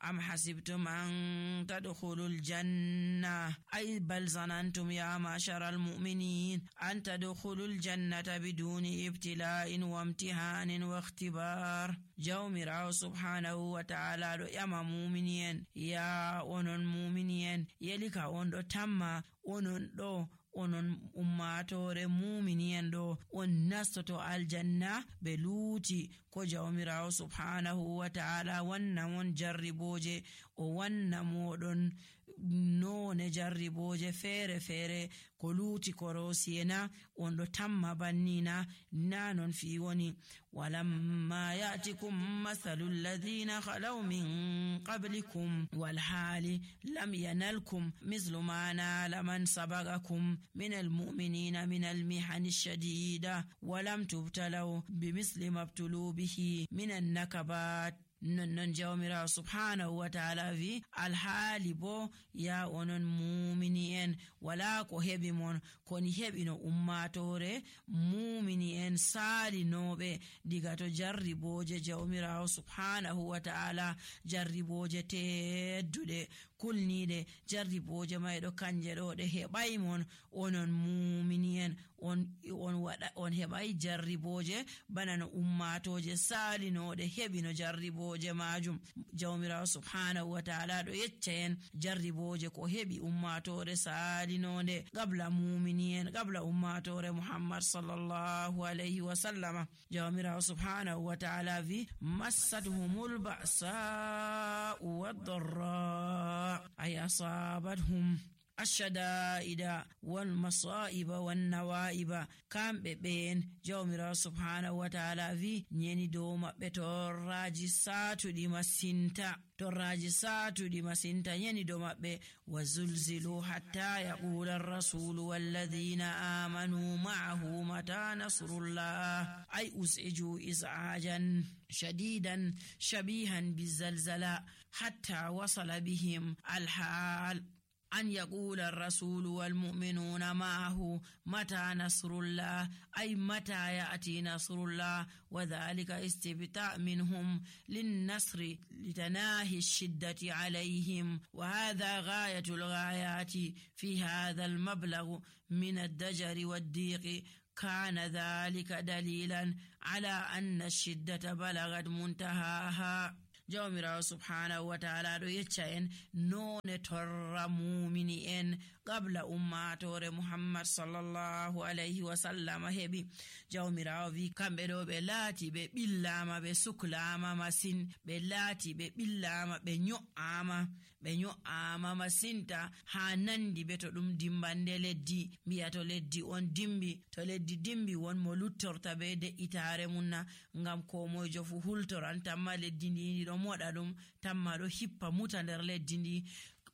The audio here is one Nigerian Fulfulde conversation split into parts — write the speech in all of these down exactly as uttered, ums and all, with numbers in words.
am hasibtum an tadkhulul janna ay bal zanantum ya ma'sharal mu'minin an tadkhulul jannata biduni ibtila'in wa imtihanin wa ikhtibar. Jawmirawo subhanahu wa ta'ala do yama mu'minin ya onon mu'minin yelika on do tamma onon do onon ummatore mu'minin do on nastoto aljanna be luuti ko jawmirawo subhanahu wa ta'ala wanna mon jarriboje o wanna modon none jarriboje fere fere ko luuti ko rosiyena on do tamma bannina nanon fi woni walamma ya'tikum mathalul ladhina khalaw min qablikum wal hali lam yanalkum mithlu ma nala man sabaqakum من المؤمنين من المحن الشديدة ولم تبتلوا بمثل ما ابتلوا به من النكبات. non jawmira subhanahu wa ta'ala vi alhaali bo ya onon mumini en wala ko hebi mon koni hebi no ummatore mumini en salinobe diga to jarriboje jawmira subhanahu wa ta'ala jarriboje teddude kulnide jarriboje maydo kanje do de hebay mon onon mumini en on on wada on hebay jarriboje banano ummatoje salinode hebi no jarribo majum. Jawmirawo subhanahu wa ta'ala do yeccaen jarriboje ko hebi ummatore salinonde qabla mu'minin qabla ummatore Muhammad sallallahu alayhi wa sallam. Jawmirawo subhanahu wa ta'ala vi massatuhumul ba'sa wad-dharra ay asabathum الشدائد والمصائب والنوائب كم بين جومرا سبحانه وتعالى في نيني دوما بتوراجي ساتو دي مسنتا توراجي ساتو دي مسنتا نيني دوما بي وزلزلوا حتى يقول الرسول والذين آمنوا معه متى نصر الله أي أزعجوا إزعاجا شديدا شبيها بالزلزلة حتى وصل بهم الحال أن يقول الرسول والمؤمنون معه متى نصر الله أي متى يأتي نصر الله وذلك استبتاء منهم للنصر لتناهي الشدة عليهم وهذا غاية الغايات في هذا المبلغ من الدجر والضيق كان ذلك دليلا على أن الشدة بلغت منتهاها. Jawmirawo subhanahu wa ta'ala do yeccaen none torra mu'mini en qabla ummatore Muhammad sallallahu alayhi wa sallam hebi. Jawmirawo vi kambe do be laati be billama be suklama masin be laati be billama be nyo'ama be nyo'ama masinta ha nandi be to dum dimbande leddi biya to leddi on dimbi to leddi dimbi won mo luttorta be de itare munna ngam ko mojo fu hultoranta ma leddi ni do moda dum tamma do hippa muta der leddi ndi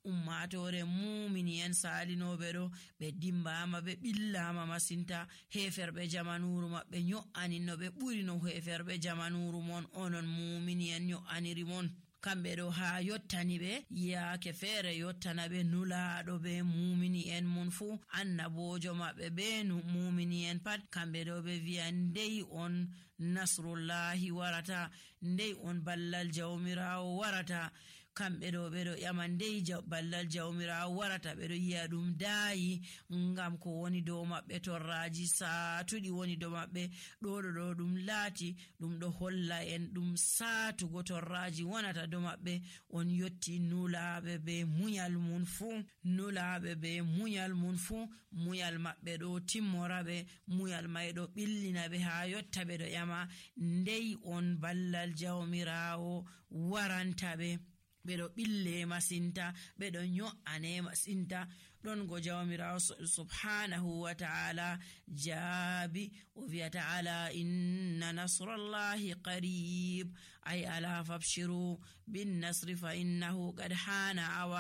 ummatore mu'mini en salinobe do be dimbama be billama masinta heferbe jamanuru mabbe nyo'ani no be buri no heferbe jamanuru mon onon mu'mini en nyo'aniri mon kambe do ha yottani be yaake fere yottana be nulaado be mu'mini en mun fu annabojo mabbe be nu mu'mini en pat kambe do be wi'a ndey on nasrullahi warata ndey on ballal jawmirawo warata kambe do be do yamandey ballal jawmirawo warata be do yi'a dum daayi ngam ko woni do mabbe torraji saatudi woni do mabbe do do do dum laati dum do holla en dum saatu go torraji wonata do mabbe on yotti nulaabe be munyal mun fu nulaabe be munyal mun fu munyal mabbe do timmorabe munyal may do billina be ha yotta be do yama ndey on ballal jawmirawo waranta be bedo bille masinta bedo nyo'ane masinta don go jawmirawo subhanahu wa ta'ala jabi wa fi ta'ala inna nasrallahi qarib ay ala fabshiru bin nasri fa innahu qad hana